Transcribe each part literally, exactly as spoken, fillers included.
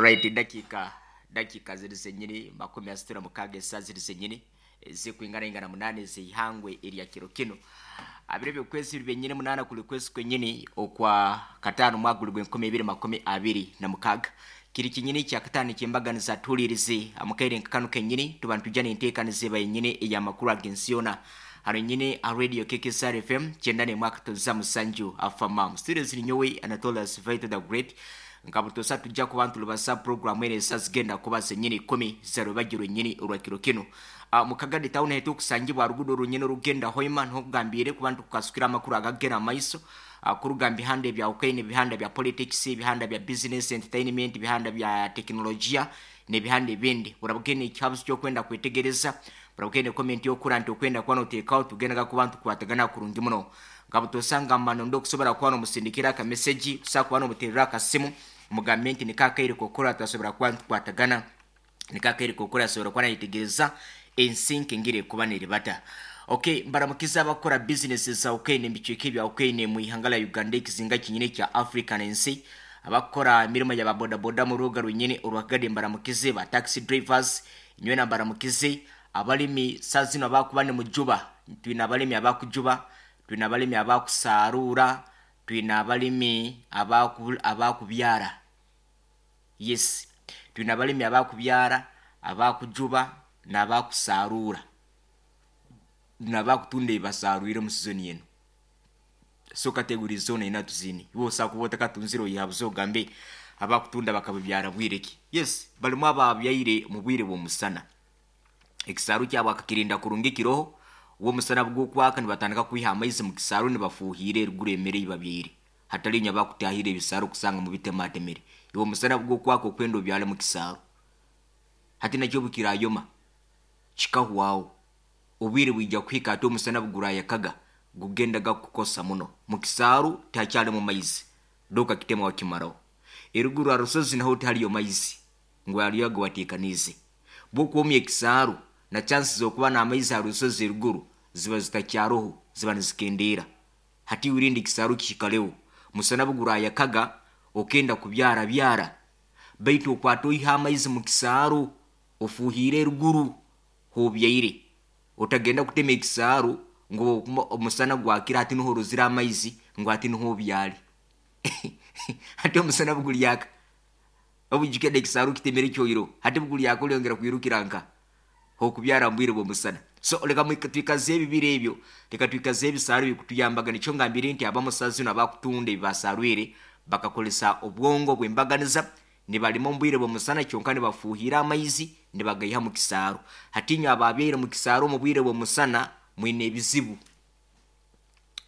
Right, dakika dakika ziri zenyini makumi asatu na mukaaga, esaa ziri zenyini zikwingana ingana munane zeihangwe erya kiro kino abiri byokwezi biri byenyini munana kuli kwezi kwenyini okwa katano mwaka guli gwenkumi ibiri makumi abiri na mukaaga, kiri kinyini kya katano kyembaganiza. Tuhulirize amukaire nkakanu kenyini tuba nitujja nenteekaniza eba yenyini eyamakuru ag'ensi yona hano nyini a Radio K K S R F M kyenda nemwaka toza musanju afama. Studio ziri nyowe Anatolis Vito the Great. Nkabutosa tujja kuba ntulubasa programu ene esa zigenda kuba zenyini kumi zarubagirwe nyini olwakiro kino. uh, mukagadi town hetu kusangibwa rugudo runyini rugenda Hoima, ntugambire kuba ntukasukira amakuru agagenda maiso uh, kuruga bihanda ebya Ukraine, bihanda bya politics, bihanda bya business, entertainment, bihanda bya teknolojia n'ebihanda ebindi. Burabugene ekihabuzo kyokwenda kwetegereza, burabugene comment yokura nti okwenda kuba noteekaho, tugendaga kuba ntukwatagana kurungi muno. Nkabutosanga mano ndo okusobola kuba nomusindikira akameseji, osobola kuba nomuterera akasimu, mugambe nti nikakaire kokora twasobola kuba ntukwatagana, nikakaire kokora asobola kuba nayetegereza ensi nkengere kuba neribata. Okay, mbaramukiza abakora business za Ukraine mbicweka ebya Ukraine mu ihanga la Uganda, ekizinga kinyine kya Africa n'ensi. Abakora emirimo ya bodaboda mu rubuga rwenyine orwakagade mbaramukize, ba taxi drivers nywena mbaramukize. Abalimi saa zino abakuba ni mujuba, twine abalimi abakujuba, twine abalimi abakusarura, twine abalimi abaku abakubyara. Yes, twine abalimi abakubyara, abakujuba n'abakusarura n'abakutunda ebasarwire mu season eno. So category zona ina tuzini, iwe osakuba otakatunzire oyihabuze ogambe abakutunda bakabibyara bwireki. Yes, balimu ababyaire mu bwire bw'omusana, ekisaaru kyabo akakirinda kurungi kiroho womusana bw'okwaka, nibatandika kwiha amaizi mu kisaaru nibafuuhira eriguru emere ei babyaire, hatali nyo abakutahira ebisaaru kusanga mubitematemere. Iwe omusana bw'okwaka okwenda obyale mu kisaaru, hati nakyo bukirayoma kikahwaho. Obwire bwija kuhika ate omusana bugurayakaga gugendaga kukosa muno mu kisaaru, tihakyalimu maizi, doka kitema wakimaraho. Eruguru arusozi naho tihaliyo maizi ngu aliyo agawateekaniize. Bwokwomya ekisaaru na chances zokuba n'amaizi ha rusozi eruguru ziba zitakyaroho, ziba nizikendeera. Hati wirinde ekisaaru kihikaleho musana bugurayakaga okenda kubyara byara, baitu okwata oiha amaizi mu kisaaru ofuuhiire eruguru hobyaire. Otagenda kutema ekisaaru ngu omusana gwakira hati niho orozire amaizi ngu hati niho obyale. Hati omusana bugulyaka, obujukede ekisaaru kitemere kyoiro, hati bugulyaka olyongera kwirukira nka okubyara mbwire bw'omusana. So leka twikaze ebibiri ebyo, leka twikaze ebisaaru bikutuyambaga. Nikyo ngambire nti abamusazi zino abakutunda ebibasarwire bakakolesa obwongo bw'embaganiza, nibalima omu bwire bw'omusana kyonka nibafuuhira amaizi nibagaiha mu kisaaru. Hati inywe ababyaire mu kisaaru omu bwire bw'omusana mwine ebizibu,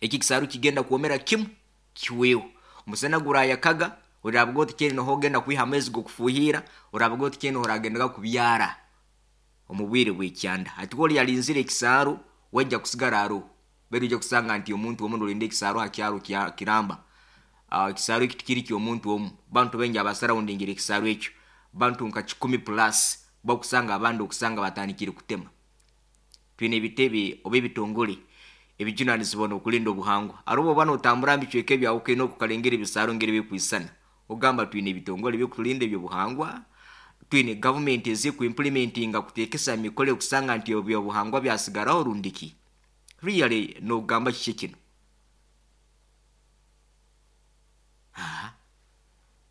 eki kisaaru kigenda kwomera kimu kiweho. Omusana gurayakaga, orabuga oti kyene niho ogenda kwiha amaizi g'okufuuhira, orabuga oti kyene oragendaga kubyara omu bwire bw'ekyanda. Hati oli yalinzire ekisaaru wajja kusigara aroho, baitu ojja kusanga nti omuntu omu nolinda ekisaaru ha kyaro kiramba. uh, ekisaaru eki tikiri ky'omuntu omu, bantu baingi abasarawundingire ekisaaru ekyo, bantu nka kikumi plus bakusanga abandi okusanga batandikire kutema. Twine ebitebe oba ebitongole ebijunanizibwa n'okulinda obuhangwa. Arobo oba notambura mbicweka ebyawukaine okukalengera ebisaaru ngeri bikwisana, ogamba twine ebitongole ebyokutulinda ebyobuhangwa, twine gavumenti ezikuimplementinga kuteekesa mikole okusanga nti ebyobuhangwa byasigaraho rundiki? Really, nogamba kiki kino?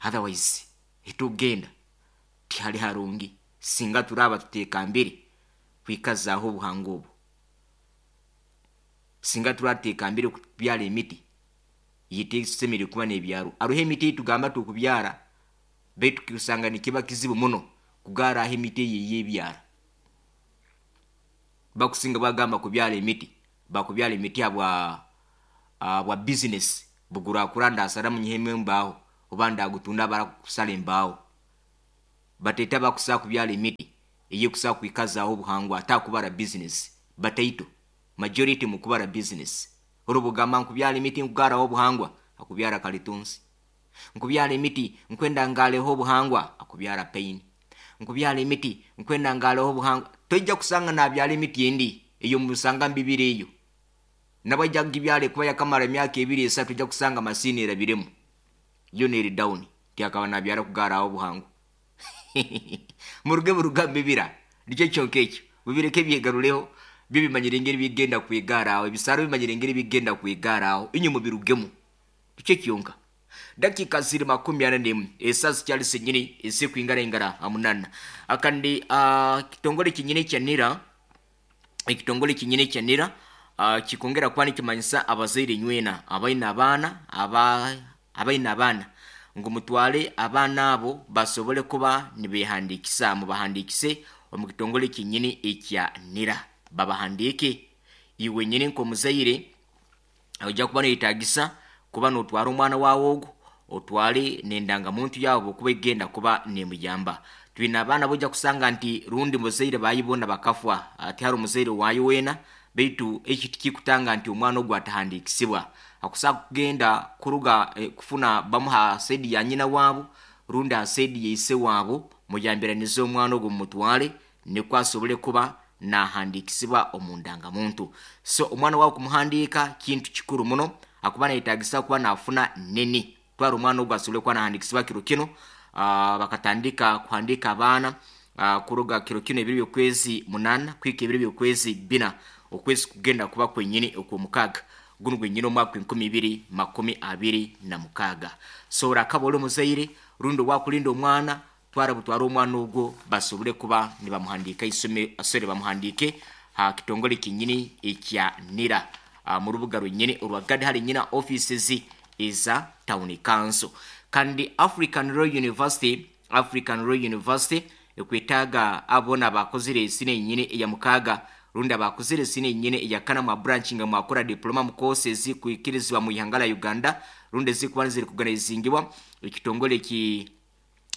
Otherwise etugenda tihali harungi singa turaba tutekambire kwikazaaho obuhangwa obu, singa turatekambire kubyara emiti yitesemere kuba n'ebyaro. Aroho emiti eyitugamba tukubyara, baitu kusanga nikiba kizibu muno kugaraho emiti eyo eyebyara. Bakusinga bagamba kubyara emiti, bakubyara emiti habwa uh, bwa business bugurakura, ndasaramu nyihemu embaaho oba ndagutunda barakusala embaaho. Bateta bakusaa kubyara emiti eyekusaa kwikazaaho obuhangwa atakubara business, bataito majority mukubara business. Orubugamba nkubyara emiti nkugaraho obuhangwa, akubyara kalitunsi. Nkubyara emiti nkwenda ngaleho obuhangwa, akubyara pain. Nkubyara emiti nkwenda ngaleho obuhangwa, tojja kusanga nabyara emiti endi eyo musanga mbibiri eyo nabajja kugibyala kuba yakamara emyaka ebiri esatu, ojja kusanga masini erabiremu yo neri down, tyakaba nabyara kugaraho obuhangwa. Muruge murugambo ebira nikyo kyonka ekyo mubireke byegaruleho byo bimanyire engeri bigenda kwegara aho ebisaro bimanyire engeri bigenda kwegara aho inye mubirugemu nikyo kyonka. Dakika ziri makumi ana nemu esaa zikyali senyini ezikwingara ingara amunana akandi uh, kitongole kinyini kya NIRA ekitongole kinyini kya NIRA uh, kikongera kuba nikimanyisa abazaire nywena abaina abaana aba abaina abaana ngu mutwale abaana abo basobole kuba nibehandikisa mubahandikise omu kitongole kinyini ekya NIRA babahandike. Iwe nyini nk'omuzaire ojja kuba noyetagisa kuba notwara omwana wawe ogwo otwale nendangamuntu yaabo okuba egenda kuba nemuyamba. Twine abaana bojja kusanga nti rundi muzaire bayibona bakafwa ati hari omuzaire wayo wena beitu eki tikikutanga nti omwana ogwo atahandikisibwa akusa kugenda kuruga eh, kufuna bamuha saidi ya nyina waabo rundi ha saidi ya ise waabo muyambiranize omwana ogwo mumutwale nikwo asobole kuba nahandikisibwa omu ndangamuntu. So omwana wawe kumuhandika kintu kikuru muno akuba nayetagisa kuba nafuna nini twara omwana ogwo asobole kuba nahandikisibwa kiro kino. Uh, bakatandika kuhandika abaana uh, kuruga kiro kino ebiro byokwezi munana kwika ebiro byokwezi bina okwezi kugenda kuba kwenyini okwomukaaga guno gwenyini omwaka enkumi ibiri makumi abiri na mukaaga. So orakaba ori omuzaire rundi owakulinda omwana twara butwara omwana ogwo basobole kuba nibamuhandika isome asore bamuhandike ha kitongole kinyini ekya NIRA uh, mu rubuga rwenyini orwagadi hari nyina offices eza town council. Kandi African Royal University African Royal University ekwetaga abona bakozire esine nyini eya mukaga rundi abakozire esine nyini eya kana mwa branch nga mwakora diploma mu courses kuikirizwa mu ihanga la Uganda rundi zikuba ziri kuganizingibwa ekitongole ki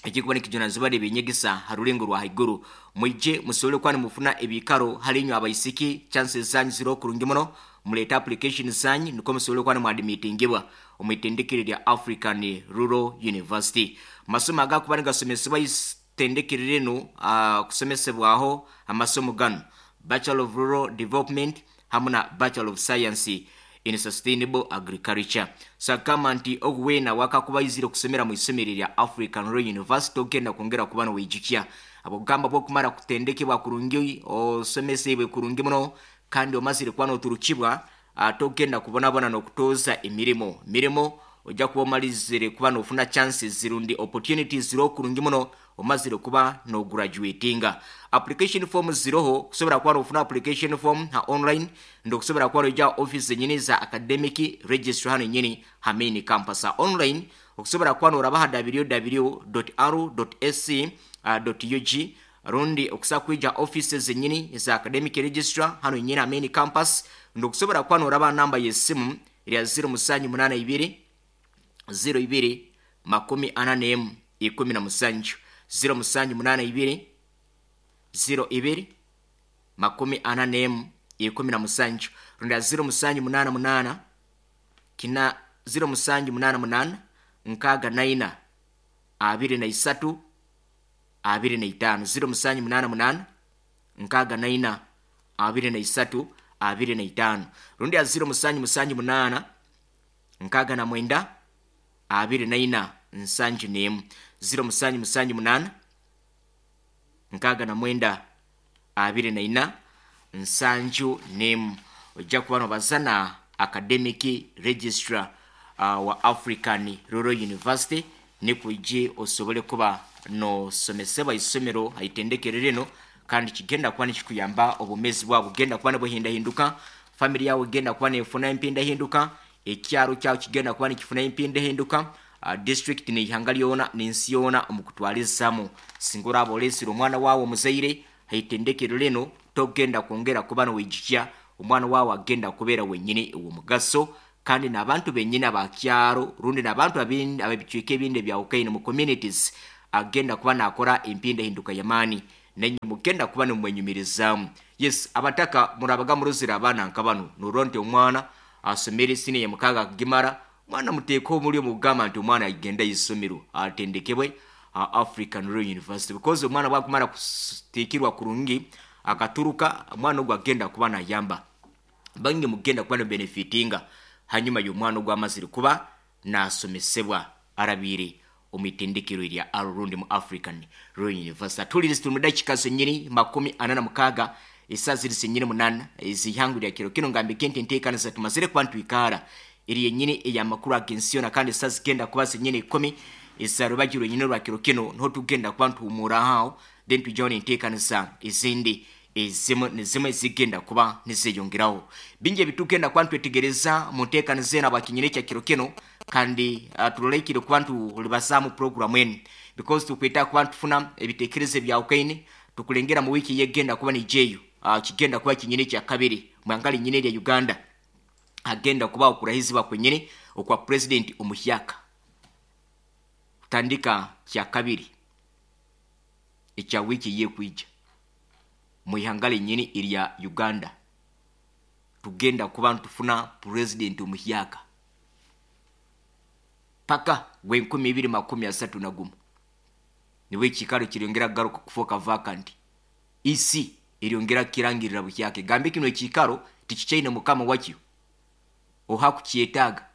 ekikuba nikijunanizibwa n'ebinyegesa ha rulengo rwa haiguru. Mwije musobole kuba nimufuna ebikaro hali inywe abaisiki chances zanyu ziri kurungi muno muleta application zanyu niko musobole kuba nimwadimitingibwa omwitendekero lya African Rural University. Amasomo agakuba nigasomesebwa itendekero linu uh, kusomesebwaho amasomo gano Bachelor of Rural Development hamwe na Bachelor of Science in Sustainable Agriculture. So kama nti ogwena wakakubaizire okusomera mu isomero lya African Royal University ogenda kwongera kuba nowijukya abogamba bwokumara kutendekebwa kurungi osomesebwe kurungi muno kandi omazire kuba noturukibwa atogenda kubonabona nokutoza emirimo mirimo ojja kuba omalizire kuba nofuna chances zirundi opportunities ziro kurungi muno omazire kuba no graduatinga. Application form ziroho kusobora kuba nofuna application form ha online ndo kusobora kuba noija office nyini za academic registrar hano nyini ha main campus ha online okusobora kuba noraba ha w w w dot r dot s c dot u g rundi okusa kwija offices nyini za academic registrar hano nyini ha main campus ndo kusobora kuba noraba namba y'essimu ya zero musanju munana ibiri zero ibiri makumi ana n'emu ikumi na musanju zero musanju munana ibiri zero ibiri makumi ana n'emu ikumi na musanju rundi zero musanju munana munana kina zero musanju munana munana nkaaga naina abiri na isatu abiri na itaano zero musanju munana munana nkaaga naina abiri na isatu abiri na itaano rundi ya zero musanju musanju munana nkaaga na mwenda abiri na ina nsanju n'emu zero musanju musanju munana nkaaga na mwenda abiri na ina nsanju n'emu. Ojja kuba nobazana academic registrar uh, wa African Rural University nikuje osobole kuba nosomesebwa isomero haitendekero lino kandi kigenda kuba nikikuyamba obumezi bwabwo bugenda kuba nibuhindahinduka family yawe egenda kuba nefuna empindahinduka ekyaro kyawe kigenda kuba nikifuna empindahinduka uh, district n'ihanga lyona n'ensi yona omu kutwalizamu. Singa oraba olesire omwana wawe omuzaire haitendekero lino togenda kwongera kuba nowijukya omwana wawe agenda kubeera wenyini ow'omugaso kandi n'abantu benyini abakyaro rundi n'abantu ab'ebicweka ebindi ebyawukaine mu communities agenda kuba nakora empindahinduka y'amaani nenye mugenda kuba nimwenyumirizaamu. Yes, abataka murabaga muruzira abaana nka bano norora nti omwana asomere siniya ya mukaaga akagimara omwana muteeka omuli omugamba nti omwana agenda isomero atendekebwe African Royal University because omwana bwakumara kuteekirwa kurungi akaturuka omwana ogwo agenda kuba nayamba bangi mugenda kuba nobenefitinga hanyuma y'omwana ogwo amazire kuba nasomesebwa arabiire Omu itendekero erya Arurundi mu African Royal University. Tulirizi tuli mu dakika zenyini makumi ana na mukaaga, esaa ziri zenyini munana ezihangwe lya kiro kino. Ngambike nti enteekaniza tumazire kuba ntwikaara eri yenyini ey'amakuru ag'ensi yona, kandi esaa zigenda kuba zenyini ikumi ezarubagirwe nyine rwa kiro kino niho tugenda kuba ntuhumuraho, then twijaho n'enteekaniza ezindi ezimu nizimwe zigenda kuba nizeyongeraho. Bingi ebitugenda kuba ntwetegereza mu nteekaniza eno abakinyine ekya kiro kino, kandi uh, turoleikire kuba ntulibazaamu programu enu because tukweta kuba ntufuna ebitekerezo ebyawukaine. Tukulengera mu wiiki yegenda kuba nijeyo, uh, kigenda kuba kinyine kya kabiri mwangali nyine lya Uganda agenda kuba okurahizibwa kwenyine okwa president omuhyaka kutandika kya kabiri ekya wiiki yekwija mu ihanga lenyini erya Uganda. Tugenda kuba ntufuna president omuhyaka paka gwenkumi ibiri makumi asatu na gumu, niwe ekikaro kiryongera kugaruka kufoka vacant. Isi eryongera kirangirira buhyaka, gambe kino ekikaro tikichaine mukama wakyo, oha kukyetaaga,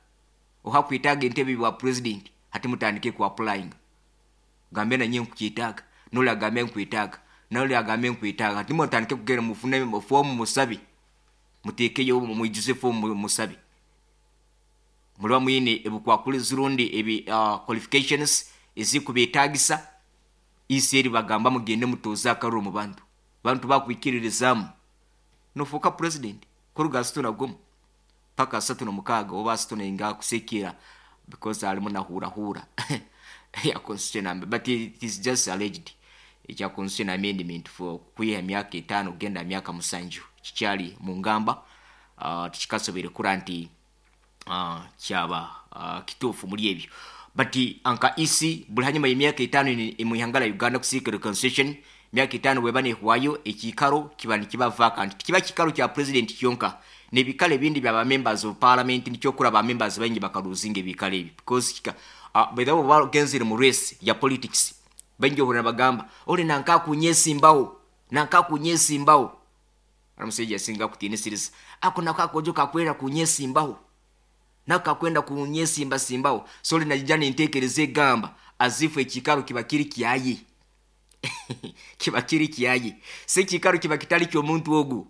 oha kwetaaga entebe bwa president, hati mutandike ku applying, gambe nanye nkukyetaaga, noli agambe nkwetaaga, noli agambe nkwetaaga, hati mutandike kugenda mufune fomu musabe, muteekeyo mwijuze fomu musabe, muliba mwine ebukwakulizi rundi ebi uh, qualifications ezikubetagisa. Isi eri bagamba mugende mutoza akaruru mu bantu, bantu bakwikiririzaamu nofuuka president kuruga asatu na gumu paka asatu na mukaaga oba asatu nainga kusekera, because alimu nahurahura ya constitution, but it is just alleged ekya constitution amendment for kwiha emyaka etaano kugenda myaka musanju kikyali mu ngamba, uh, tikikasobere kura nti uh, kyaba uh, kituufu muri ebyo. But anka isi buli hanyuma y'emyaka etaano mu ihanga lya Uganda kusiikira constitution, myaka etaano bweba nehwayo ekikaro kiba nikiba vacant. Tikiba kikaro kya president kyonka, n'ebikalo ebindi bya ba members of parliament, nikyokura ba members baingi bakaluzinga ebikalo ebi because kika uh, by the way bagenzere mu race ya politics, baingi obona bagamba oli nanka kunyesimbawo, nanka kunyesimbawo, aramusajja asinga kutiinisiriza ako nako akojo kakwera kunyesimbawo, nako kakwenda kunyesimba simbawo. So oli najja nenteekereza egamba azifu ekikaro kiba kiri kyaye kiba kiri kyaye, si ekikaro kiba kitali ky'omuntu ogu.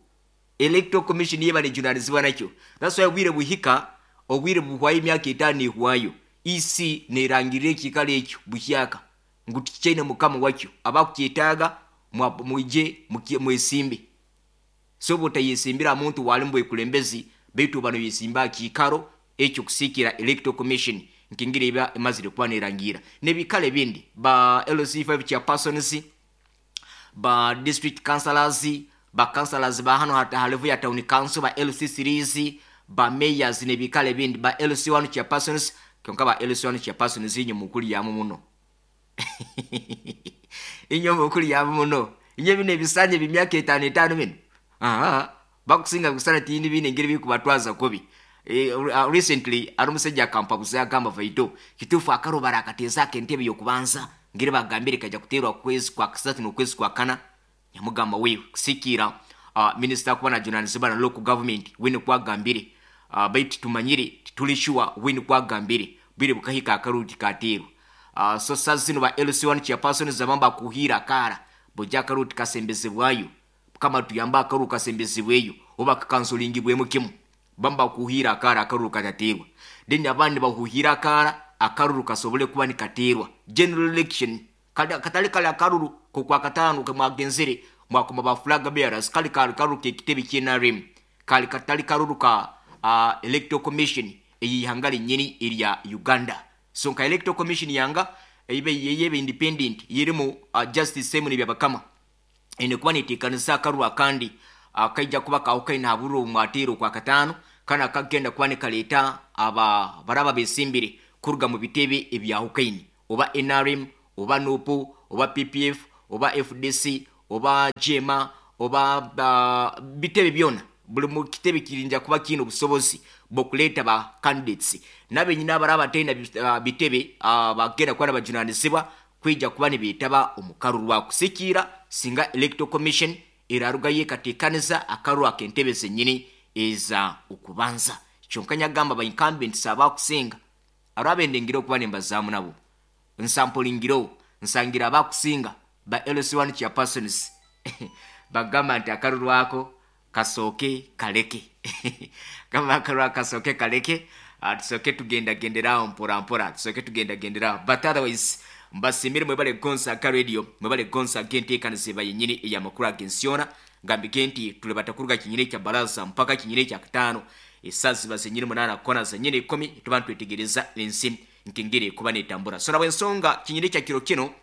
Electoral Commission yeba nejunanizibwa nakyo. That's why obwire buhika, obwire buhwayo emyaka etaano ehwayo, isi nerangirira ekikaro ekyo buhyaka ngu tikichaine mukama wakyo, abakukyetaaga mwije mwesimbe. So bwotayesimbira muntu wali mu bwekulembezi, baitu bano yesimba kikaro ekyo kusikira Electoral Commission nkingira eba emazire kuba nerangira. N'ebikalo ebindi ba L C five chairpersons, ba district councillors, ba councillors ba hano hata halevu ya town council, ba L C series, ba mayors n'ebikalo ebindi ba L C one chairpersons, kyonka ba L C one chairpersons inyo mukuli yamu muno inyo mukuli yamu muno inyo bino ebisanje bimyaka etaano etaano bino aha bakusinga kusana tindi bine ngeri bikubatwaza kobi. E, uh, recently ari omusajja akampabuza agamba vaito kituufu akarobara akateeza ak'entebe y'okubanza ngeri bagambire kajja kuteerwa kwezi kwa kasatu n'okwezi kwa kana, yamugamba wewe kusikiira uh, minisita kuba najunanizibwa na local government wene kwagambire, uh, baitu tumanyire tituli sure wene kwagambire bwire bukahika akaruti kateerwa. Uh, so sasa zino ba L C one chairperson zabamba kuhira akara bojja akaruti kasembezebwayo kama tuyamba akaru kasembezebweyo oba kakansolingibwemu kimu bamba kuhira akara akaruru kataterwa, then abandi bahuhira akara akaruru kasobole kuba nikaterwa general election katali kale akaruru ko kwa katano kamwagenzere mwakoma ba flag bearers kali kali karuru ke kitebe kye N R M kali katali karuru ka uh, Electoral Commission eyihangale nyeni erya Uganda. So nka Electoral Commission yanga ibe yebe independent yirimu uh, Justice Simon Byabakama ene kuba netekanisa akaruru akandi akaija kuba kawukaina haburu mwatiro kwa katano kana kagenda kuba nekaleta aba baraba besimbire kuruga mu bitebe ebyahukaini oba N R M oba N U P oba P P F oba F D C oba J M A oba ba, bitebe byona buli mu kitebe kirinja kuba kino obusobozi bw'okuleeta ba candidates nabe nyina abaraba tena bitebe bagenda kuba nabajunanizibwa kwija kuba nibeetaba omukaru rwa kusikiira singa Electoral Commission eraruga yekateekaniza akaru ak'entebe zennyini eza okubanza. Kyonka nyagamba ba incumbents abakusinga arabendengera okuba nembazaamu nabo Nsampolingiro nsangira abakusinga ba L C one chairpersons bagamba nti akalulu ako kasooke kaleke gamba akalulu ako kasooke kaleke, tusooke tugendagenderawo mpora mpora, tusooke tugendagenderawo. But otherwise mbasimire mwebale gonsa ka radio, mwebale gonsa genteekaniza yenyini eyamakulu ag'ensiona. Ngambike nti tuli batakuruga kinyini kya baraza mpaka kinyini kya kataano esaazi ziba zenyini munaana kona zenyini ikumi, tuba ntwetegereza ensi nkengere kuba netambura. So nabwe ensonga kinyini kya kiro kino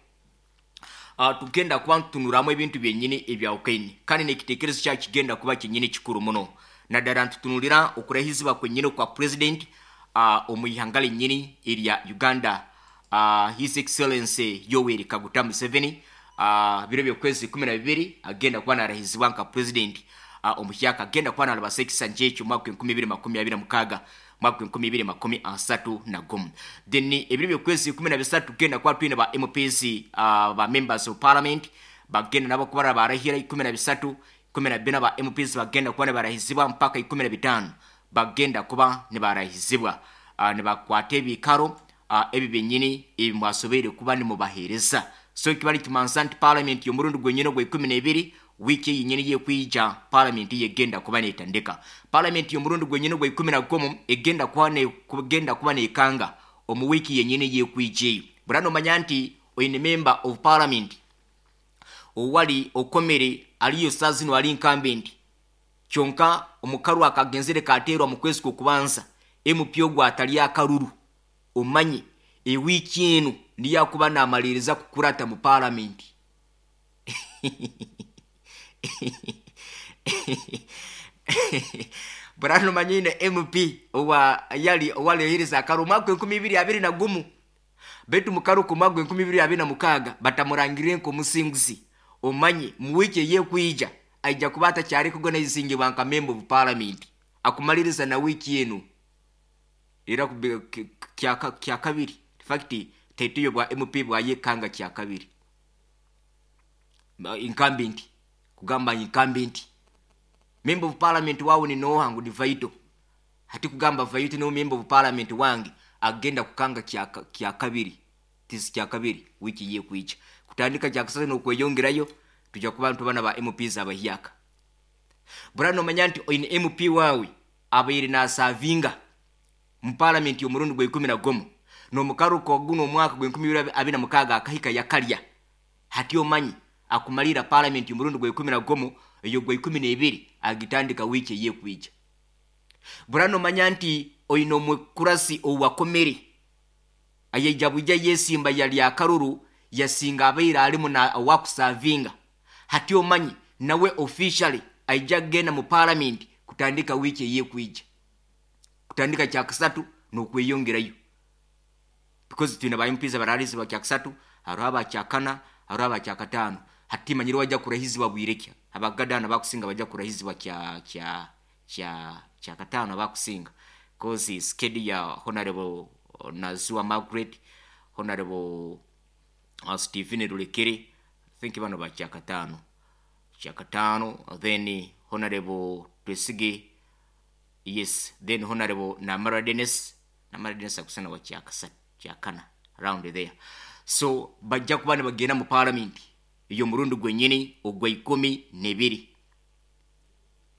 uh, tugenda kuba ntutunuramu ebintu byenyini ebyawukaine, kandi n'ekiteekerezo kya kigenda kuba kyenyini kikuru muno, naddala ntutunulira okurahizibwa kwenyini kwa president uh, omu ihanga lyenyini erya Uganda, uh, His Excellency Yoweri Kaguta Museveni. Uh, biro by'okwezi kumi na bibiri agenda kuba narahizibwa nka president uh, omuhyaka, agenda kuba narabasa ekisanja ekyo mwaka enkumi ibiri makumi abiri na mukaaga mwaka enkumi ibiri makumi asatu na gumu. Then ebiro by'okwezi kumi na bisatu tugenda kuba twine ba M Ps, uh, ba members of parliament bagenda nabo kuba barahira ikumi na bisatu, ikumi na bina ba M Ps bagenda kuba nibarahizibwa mpaka ikumi na bitaano bagenda kuba nibarahizibwa, uh, nibakwata ebikaro uh, ebi byenyini ebi mwasobeire kuba nimubaheereza. So kibali kimansa nti parliament y'omurundi gwenyini ogwa ikumi n'ebiri wiiki yenyini yekwija parliament yegenda kuba netandika. Parliament y'omurundi gwenyini ogwa ikumi na gumu egenda kuba ne kugenda kuba nekanga omu wiiki yenyini yekwija eyo. Burano manya nti oyine member of parliament owali okomere aliyo saa zino ali incumbent, kyonka omukaru akagenzere kateerwa mu kwezi kw'okubanza M P ogwo atali akaruru, omanye ewiiki eno niyo akuba namaliriza kukurata mu parliament. Burano manyine M P owa yali owalehereza akaru mwaka enkumi ibiri abiri na gumu, betu mukaru ku mwaka enkumi ibiri abiri na mukaaga batamurangire nko musinguzi, omanye mu wiiki yekwija aija kuba atakyali kugonezingibwa nka member of parliament akumaliriza na wiiki eno era kya kabiri. In fact tetuyo bwa M P bwayekanga kya kabiri incumbent, kugamba incumbent member of parliament wawo ni noha ngu ni Vaito, hati kugamba Vaito no member of parliament wange agenda kukanga kya kya kabiri tisi kya kabiri wiki yekwija kutandika kya kasatu n'okweyongerayo tujja kuba ntubana ba M Ps abahyaka. Burano manya nti oyine M P wawe abaire nasavinga mu parliament y'omurundi gwa ikumi na gumu n'omukaruko guno omwaka gwa enkumi ibiri abiri na mukaaga akahika yakalya, hati omanyi akumalira parliament y'omurundi gwa ikumi na gumu eyo gwa ikumi n'ebiri agitandika wiiki yekwija. Burano manya nti oyine omukurasi owakomere ayeija bwija yesimba yali akaruru yasinga abaire alimu na owakusavinga, hati omanyi nawe officially aija kugenda mu parliament kutandika wiiki yekwija kutandika kya kasatu n'okweyongerayo, because twine ba M Ps abaralizibwa kya kasatu, hariho aba kya kana, hariho aba kya kataano. Hati manyire wajja kurahizibwa bwirekya abagadana bakusinga bajja kurahizibwa kya kya kya kya kataano bakusinga, cause schedule ya Honorable Nazua Margaret, Honorable uh, Stephen Rulekere, I think bano ba kya kataano kya kataano, then Honorable Twesige, yes, then Honorable Namara Dennis, Namara Dennis akusana wa kya kasatu kya kana around there. So bajja kuba ne bagenda mu parliament eyo murundi gwenyini ogwa ikumi n'ebiri,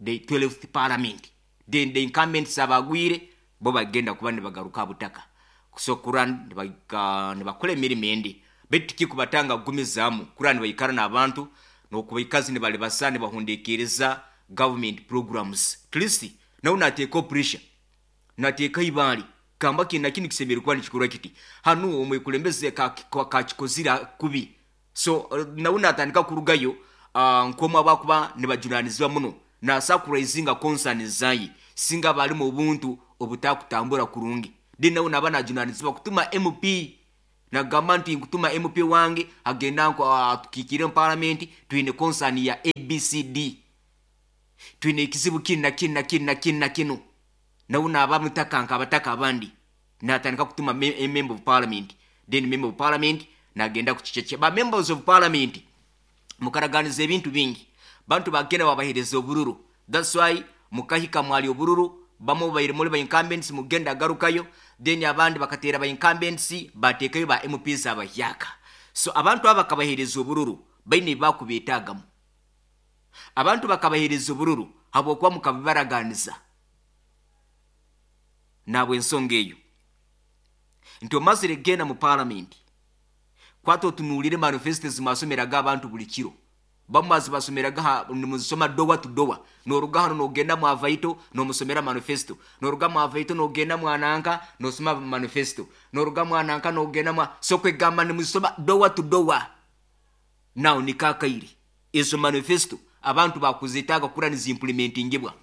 the twelfth parliament. Then the incumbents abagwire bo bagenda kuba ne bagaruka butaka, so kuran ne bakola emirimu endi betu kikubatanga kugumizaamu kuran bayikara n'abantu n'okubaikazi ne balibasa ne bahundekereza government programs. At least nawe nateeka pressure, nateeka ibaali kamba kina kini kisemere kuba nikikorwa kiti hanu omwekulembeze kakikozira kubi. So nawe natandika kurugayo uh, nkomu abakuba nibajunanizibwa muno nasakurayizinga concern zayi singa bali mu buntu obutakutambura kurungi, then nawe naba najunanizibwa kutuma M P nagamba nti nkutuma M P wange agenda nko atukikire mu parliament twine concern ya A B C D, twine ekizibu kino na kino na kino na kino na kino. Nawe naba mutaka abataka abandi natandika kutuma me, member of parliament, then member of parliament nagenda kukicheche ba members of parliament mukaraganiza ebintu bingi, bantu bagenda babahereza obururu. That's why mukahika mwali obururu bamu baire muri ba incumbents mugenda garukayo, Then abandi bakateera ba incumbents, bateekayo ba M Ps abahyaka. So abantu aba bakabaheereza obururu baine ebibakubeetaagamu. Abantu bakabaheereza obururu habwokuba mukabibaraganiza. Nabwe ensonga eyo nti omazire genda mu palamenti, kwata otunuulire manifesto zimwasomeraga abantu buli kiro. Bamwe bazibasomeraga, nimuzisoma door to door. Noruga hano nogenda mwavaito, nomusomera manifesto. Noruga mwavaito nogenda mwananka, nosoma manifesto. Noruga mwananka nogenda mwa, so kwegamba nimuzisoma door to door. Now nikakaire ezo manifesto abantu bakuzetaaga kura niziimplementingibwa.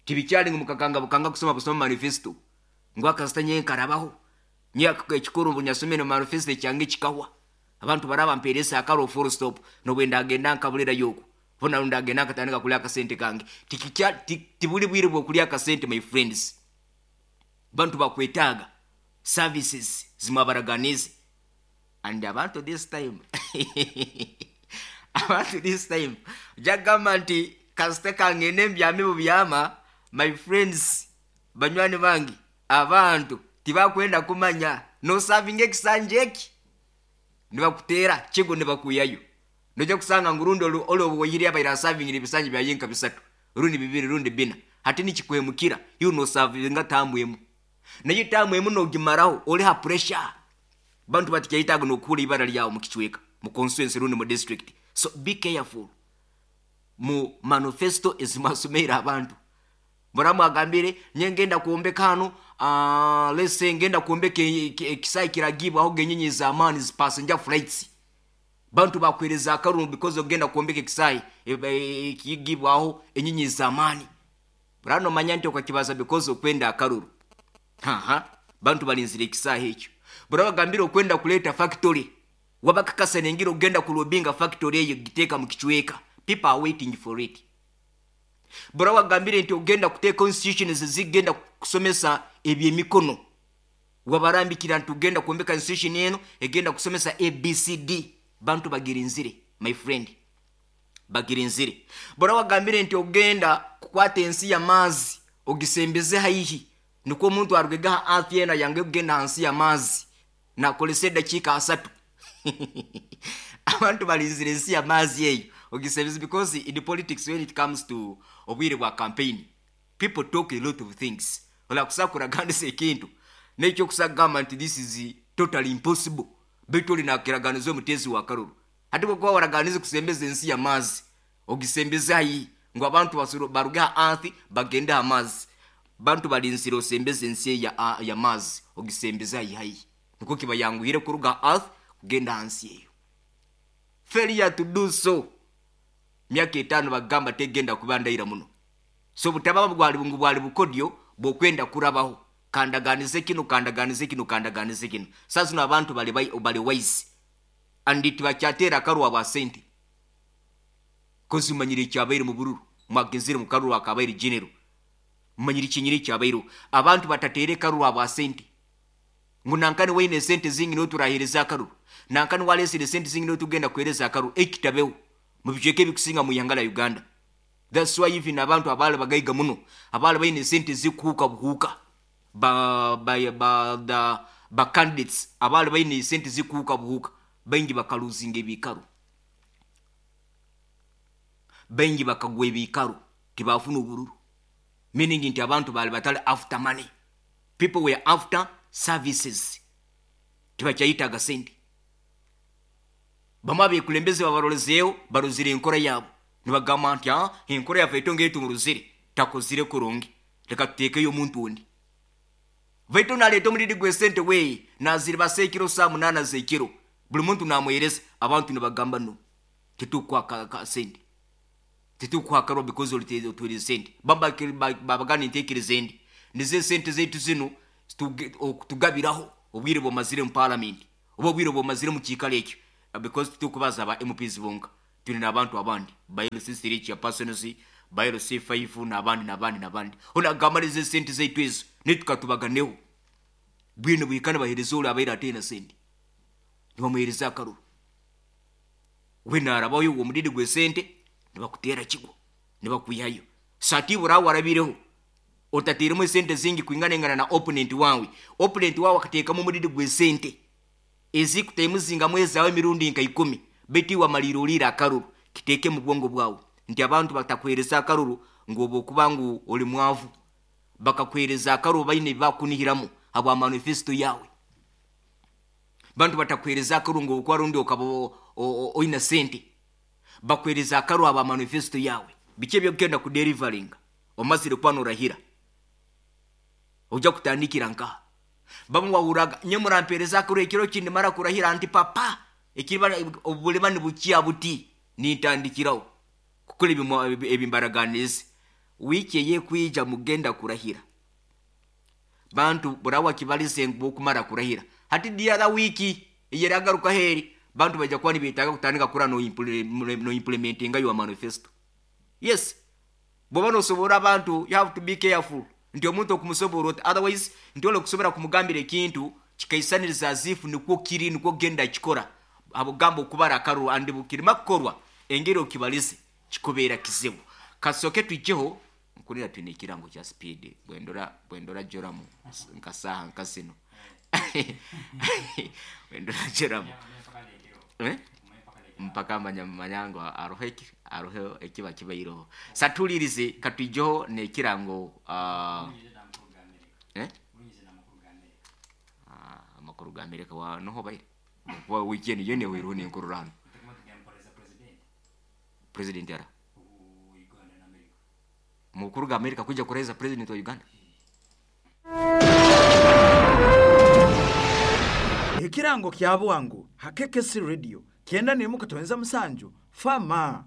Tibikyali ngu mukakanga bukanga kusoma busoma manifesto ngu akasita nyenkarabaho ekikuru ngu nyasomere manifesto ekyange kikahwa, abantu baraba mperesa akaro, full stop. Nobwe ndagenda nkabulira yoko bona, ndagenda nkatandika kulya akasente kange. Tikikya tibuli bwire bwokulya akasente, my friends. Bantu bakwetaaga services zimwabaraganize. And abantu this time abantu this time jagamba nti kasita kangende mbyame bubyama. My friends, banywani bange, abantu tibakwenda kumanya nosavinga ekisanja eki, nibakuteera kigo nibakuyayo. Nojja kusanga ngu rundi oli obuwoyiri abaire asavingira ebisanja byayenka bisatu, rundi bibiri, rundi bina. Hati nikikwemukira iwe nosavinga term emu, naye term emu nogimaraho oli ha pressure. Bantu batikyaitaga nokuhura ibara lyawe mukicweka, mu constituency rundi mu district. So be careful mu manifesto ezimwasomeire abantu. Muramu agambire nye ngenda kuombeka hano, uh, let's say ngenda kuombeka ekisaayi kiragibwaho genyonyi z'amaani, passenger flights. Bantu bakwereza akaruru because ogenda kuombeka ekisaayi ekigibwaho enyonyi z'amaani. Burano manya nti okakibaza because okwenda akaruru. Haha, bantu balinzire ekisaayi ekyo. Burabagambire okwenda kuleta factory, wabakakasa nengira ogenda kulobinga factory eyo giteeka mu kicweka. People are waiting for it. Burabagambire nti ogenda kuteeka institutions zigenda kusomesa ebyemikono, wabarambikira nti ugenda kuombeka institution eno egenda kusomesa A B C D. Bantu bagirinzire, my friend, bagirinzire. Burabagambire nti ogenda kukwata ensi y'amaazi ogisembeze haihi, nikwo omuntu arugega ha earth ena yange kugenda hansi y'amaazi nakolesa edakiika asatu. Abantu balinzire ensi y'amaazi eyo ogisembeze, because in politics, when it comes to obwire bwa campaign, people talk a lot of things. Olakusa kuraganisa ekintu nekyokusa kugamba nti this is totally impossible, baitu oli nakiraganiza omutezi wa karuru. Ate bwekuba waraganize kusembeza ensi y'amaazi ogisembeze haihi, ngu abantu baruge ha earth bagende ha maazi, bantu balinzire osembeze ensi ya, ya maazi ogisembeze haihi haihi, nikwo kibayanguhire kuruga ha earth kugenda hansi eyo. Failure to do so, myaka etaano bagamba tegenda kuba ndaira muno. So butaba bwali ngu bwali bukodyo bwokwenda kurabaho, kandaganize kino, kandaganize kino, kandaganize kino. Sasa zino abantu bali bali wise and tibakyateera akarwa bwa sente, kozi manyire ekyabaire mu bururu mwagenzire mu karuru akabaire general. Manyire kinyire ekyabaire, abantu batateere karuru bwa sente ngu nankani waine sente zingi noturahereza akaruru, nankani walesere sente zingi notugenda kuhereza akaruru. Ekitabeho mu bicweka ebikusinga mu ihanga la Uganda. That's why even abantu abaali bagaiga muno, abaali baine sente zikuhuuka buhuuka, ba, ba, ba, the, ba candidates abaali baine sente zikuhuuka buhuuka, baingi bakaluzinga ebiikaro, baingi bakagwa ebiikaro, tibafuna obururu. Meaning nti abantu baali batali after money, people were after services. Tibakyayitaga sente. Bamwe abekulembeze babarolezeeho, barozire enkora yaabo, nibagamba nti ah, enkora yaffe etongere tumuruzire, takozire kurungi, leka tuteekeyo omuntu ondi. Baitu naleeta omuliri gw'esente weeye naziribasa ekiro saa munaana z'ekiro, buli muntu namwereza. Abantu nibagamba no, tetukuha ka sente, tetukuha karwa because otuhereza sente. Baba nintekereza endi nizo esente zaitu zino tugabiraho obwire bwomazire mu parliament oba obwire bwomazire mu kiikaro ekyo, because tutukubaza aba M Ps bonka, tuli n'abantu abandi ba L C three chairpersons, ba L C five n'abandi n'abandi n'abandi. Onagamba nizo esente zaitu ezo netukatubaganeho bwine bwikana bahereza oli abaire ateina sente, nibamuhereza akaruru. We narabayo uwo mudidi gw'esente, nibakuteera kigwo, nibakwihayo. Satibura warabireho Otateeremu esente zingi kwingana engana na opponent wawe. Opponent wawe akateekamu omuriri gw'esente ezikutaimuzingamu ezaawe emirundi nka ikumi, beitu iwe amaliire oliire akaruru. Kiteeke mu bwongo bwawe nti abantu batakuheereza akaruru ngu oba okuba ngu oli mwavu, bakakuheereza akaruru baine ebibakunihiramu habwa manifesto yawe. Bantu batakuheereza akaruru ngu okuba rundi okaba oina sente, bakuheereza akaruru habwa manifesto yawe. Biki ebyokugenda kuderivaringa omazire kuba norahira ojja kutandikira nkaha? Bamwe wahuraga nye murampereza akaruru ekiro kindi mara kurahira nti papa ekiriba obulema nibukya buti nintandikiraho kukora ebimbaraganize. Wiiki eyekwija mugenda kurahira, bantu burawa kibalize ngu okumara kurahira hati the other wiki eyeragaruka heri bantu bajja kuba nibetaaga kutandika kura no no implementinga your manifesto. Yes, bwoba nosobora abantu, you have to be careful nti omuntu okumusobora oti, otherwise nti ole okusobora kumugambira ekintu kikaisaniriza azifu nikwo kiri nikwo genda kikora habugamba okubara akaruru andi bukirima kukorwa engeri okibalize kikubeera kizibu. Kasoke twijeho nkurira twine ekirango kya speed bwendora bwendora joramu nka saaha nka zino bwendora joramu eh? Mpaka manya manyango aroho eki aroho ekiba kibairoho satulirize katwijeho nekirango uh, eh? Ah, amakuru ga Amerika wa noho baire wa weekend yene weruho nenkurura hano president ara mukuru ga Amerika kuja kureza president wa Uganda. Ekirango kya bwangu hakekesi radio kyenda nemu katonza musanju fama.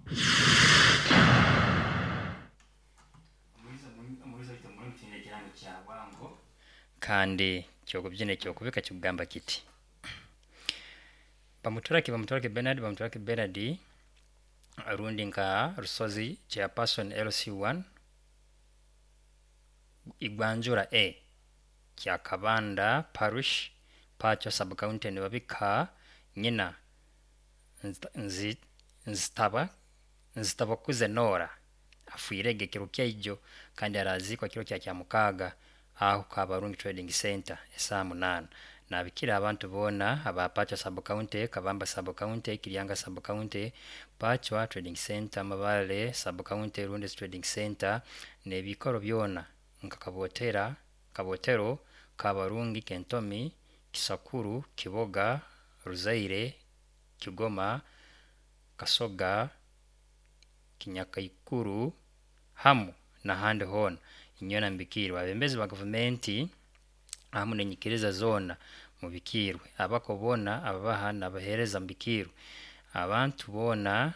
Kandi kyokubyina kyokubika kikugamba kiti bamuturaki bamuturaki Bernard bamuturaki Bernard rundi nka Rusozi chairperson L C one Igwanjura A Kyakabanda Parish Pacho sub county nibabika nyina nzi nzitaba nzitabakuze Nora afuirege kiro kyaijo kandi arazikwa kiro kya kyamukaga aho Kabarungi Trading Center esaa munana. Nabikira abantu bona aba Pacho sub county, Kabamba sub county, Kiryanga sub county, Pacho Trading Center, Mabale sub county, Rundes Trading Center nebikoro byona nka Kabotera, Kabotero, Kabarungi, Kentomi, Kisakuru, Kiboga, Ruzaire, Kigoma, Kasoga, Kinyakaikuru hamu na handi hona inyona mbikirwa. Abembezi ba gavumenti hamu nenyikiriza zona mubikirwe, abako bona ababaha nabahereza mbikirwe, abantu bona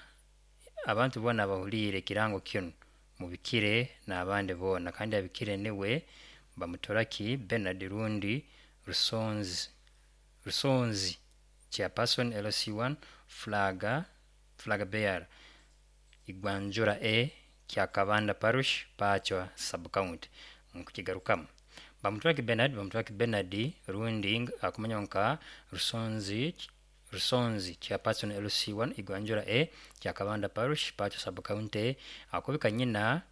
abantu bona bahulire kirango kino mubikire n'abandi bona. Kandi abikire niwe bamutoraki Bernard Rundi Rusonzi Rusonzi chairperson L C one flaga flag bearer Igwanjura A Kyakabanda Parish Pacho sub county. Nkukigarukamu bamuturaki Bernard bamuturaki Bernard Rundi akumanya nka Rusonzi Rusonzi chairperson L C one Igwanjura A Kyakabanda Parish Pacho sub county akubika nyina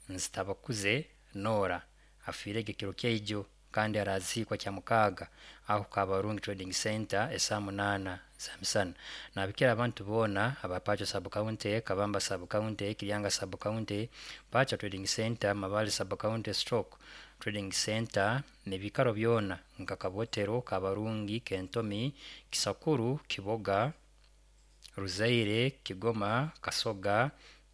nzitabakuze Nora afirege kiro kyaijo kandi arazikwa kya mukaga aho Kabarungi Trading Center esaa munana za misana. Nabikira abantu bona aba Pacho sub county, Kabamba sub county, Kiryanga sub county, Pacho Trading Center, Mabale sub county, Stroke Trading Center nebikaro byona nka Kabotero, Kabarungi, Kentomi, Kisakuru, Kiboga, Ruzaire, Kigoma, Kasoga,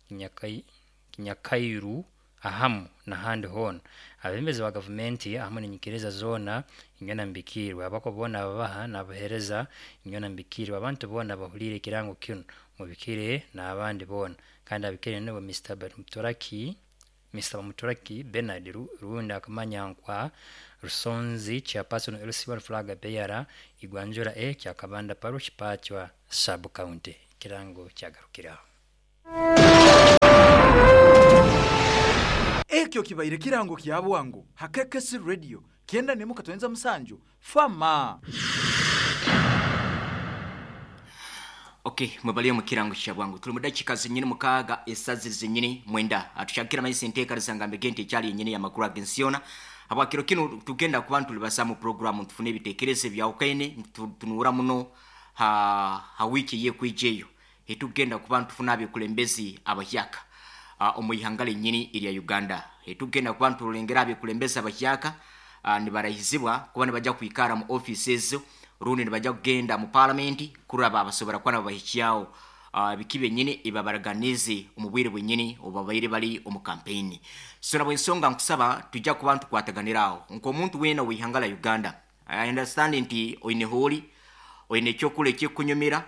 Kinyakai, Kinyakairu ahamu nahandi hona. Abembezi ba gavumenti ahamu nenyikiriza zona inyona mbikirwe, abako bona ababaha nabahereza inyona mbikirwe, abantu bona bahulire kirango kino mubikire n'abandi bona. Kandi abikire nibo Mister Bamuturaki Mister Bamuturaki Bernard Rundi akamanya nkwa Rusonzi chairperson L C one flag bearer Igwanjura A Kyakabanda Parish Pacho sub county. Kirango kyagarukiraho. Ekyo kibaire kirango kya bwangu hakekesi radio kyenda nemu katonza musanju fama. Okay, mwebaliyo mu kirango kya bwangu. Tuli mu dakiika zennyini mukaaga esazi zennyini mwenda. Atukyakira maisi enteekereza nga mbege nti ekyali yennyini y'amakulu ag'ensi yona. Habwakiro kino tugenda kuba ntulibasa mu programu tufune ebiteekerezo ebyawukaine tunuura muno ha, ha wiiki eyekwija eyo etugenda kuba ntufuna abekulembezi abahyaka uh, omu ihanga lennyini erya Uganda. Etugenda kuba ntulengera abekulembezi abahyaka uh, nibarahizibwa kuba nibajja kwikara mu office ezo rundi nibajja kugenda mu parliament kuraba abasobora kuba nababahikyaho uh, biki byenyini ebabaraganize omu bwire bwenyini obabaire bali omu campaign. So nabwe ensonga nkusaba tujja kuba ntukwataganiraho nk'omuntu weena w'ihanga la Uganda. I understand nti oine hooli, oine ekyokula ekyekunyumira,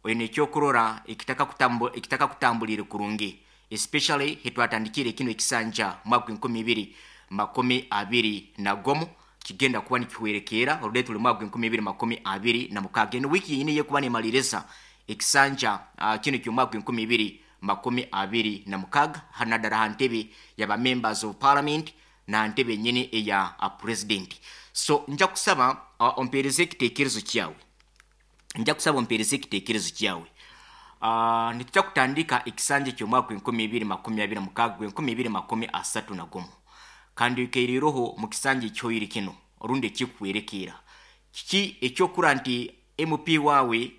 oine ekyokurora ekitaka kutambu, ekitaka kutambulire kurungi, especially hetwatandikire kino ekisanja mwaka enkumi ibiri makumi abiri na gumu kigenda kuba nikihwerekeera oludde tuli mwaka enkumi ibiri makumi abiri na mukaaga. Eno wiiki yenyini yekuba nemaliriza ekisanja uh, kino ky'omwaka enkumi ibiri makumi abiri na mukaaga, naddala ha ntebe yaba members of parliament na ntebe yenyini eya uh, president. So nja kusaba uh, ompeereze ekiteekerezo kyawe, nja kusaba ompeereze ekiteekerezo kyawe. uh, nitujja kutandika ekisanja ky'omwaka enkumi ibiri makumi abiri na mukaaga gwenkumi ibiri makumi asatu na gumu, kandi oikeireho mu kisanja ekyoyire kino orundi ekikuhwerekeera kiki ekyokura nti M P waawe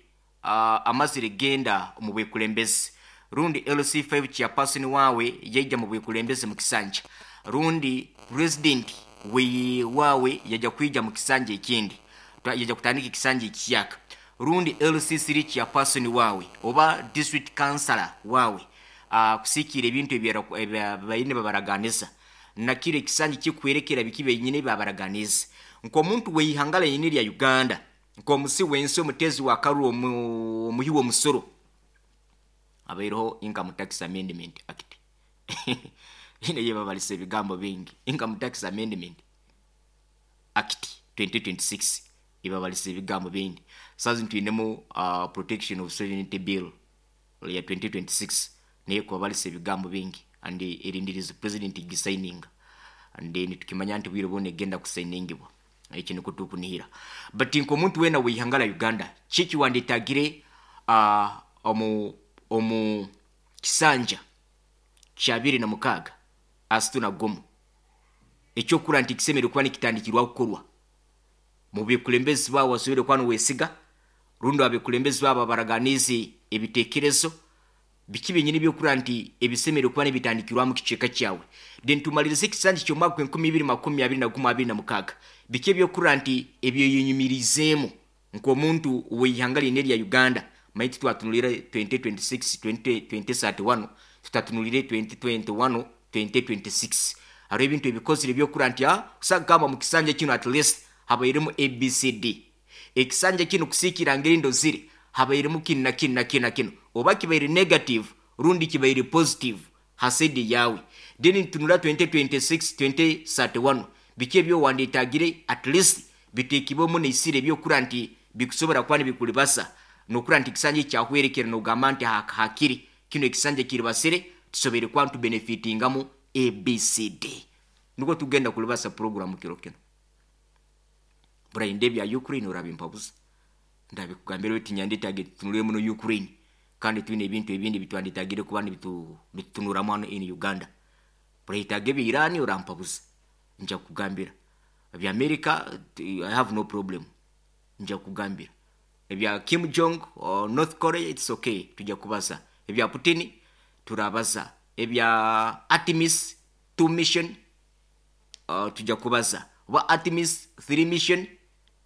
uh, amazire genda omu bwekulembezi, rundi L C five chairperson waawe yaija mu bwekulembezi mu kisanja, rundi president we waawe yajja kwija mu kisanja ekindi, yajja kutandika ekisanja ekiyaka, rundi L C three chairperson waawe oba district councillor waawe uh, kusiikira ebintu ebyabaine babaraganiza nakiro ekisanja kikwerekera biki benyini babaraganiza nk'omuntu weihanga lenyini lya Uganda, nk'omusi wensi, omutezi wa karu, omuhi w'omusoro. Abaireho Income Tax Amendment Act ine yebabalisa ebigambo bingi. Income Tax Amendment Act twenty twenty-six ebabalisa ebigambo bingi. Sazi ntwinemu uh, Protection of Sovereignty Bill ya twenty twenty-six naye kubabalisa ebigambo bingi, and erindiriza president gisigninga, and then tukimanya nti bwire bwona egenda kusigningibwa. Ekyo nikwo tukunihira. But nk'omuntu weena weihanga la Uganda, kiki wandetagire uh, omu omu kisanja kya abiri na mukaaga asatu na gumu ekyokura nti kisemere kuba nikitandikirwa kukorwa mu bikulembezi baabo wasobere kuba niwesiga, rundi abekulembezi baabo babaraganize ebiteekerezo biki byenyini byokura nti ebisemere kuba nibitandikirwamu kicweka kyawe. Then tumalirize ekisanja ky'omwaka enkumi ibiri makumi abiri na gumu abiri na mukaaga, biki ebyokura nti ebyoyenyumirizeemu nk'omuntu weihanga lyene erya Uganda. Manyi titwatunulire twenty twenty-six twenty thirty-one, tutatunulire twenty twenty-one twenty twenty-six. Hariho ebintu ebikozire ebyokura nti kusagamba mu kisanja kino at least habairemu A B C D, ekisanja kino kusiikira ngeri ndozire habairemu kinu na kinu na kinu na kinu, oba kibaire negative rundi kibaire positive hasidi yawe. Then tunula twenty twenty-six twenty thirty-one, biki ebyowandetagire at least biteekibwemu neisire ebyokura nti bikusobora kuba nibikulibasa nokura nti ekisanja ekyahwerekera nogamba nti hakiri kino ekisanja kiribasire tusobere kuba ntubenefitingamu A B C D. Nukwo tugenda kulibasa programu kiro kino. Burainde ebya Ukraine orabimpabuza, ndabikugambira oti nyandetagire tutunule muno Ukraine, kandi twine ebintu ebindi bitwandetagire kuba nibitutunuramu hano in Uganda. Burahitaga ebya Irani orampabuza, nja kugambira ebya America, I have no problem, nja kugambira ebya Kim Jong or North Korea, it's okay, tujja kubaza ebya Putin, turabaza ebya Artemis two mission, uh, tujja kubaza oba Artemis three mission,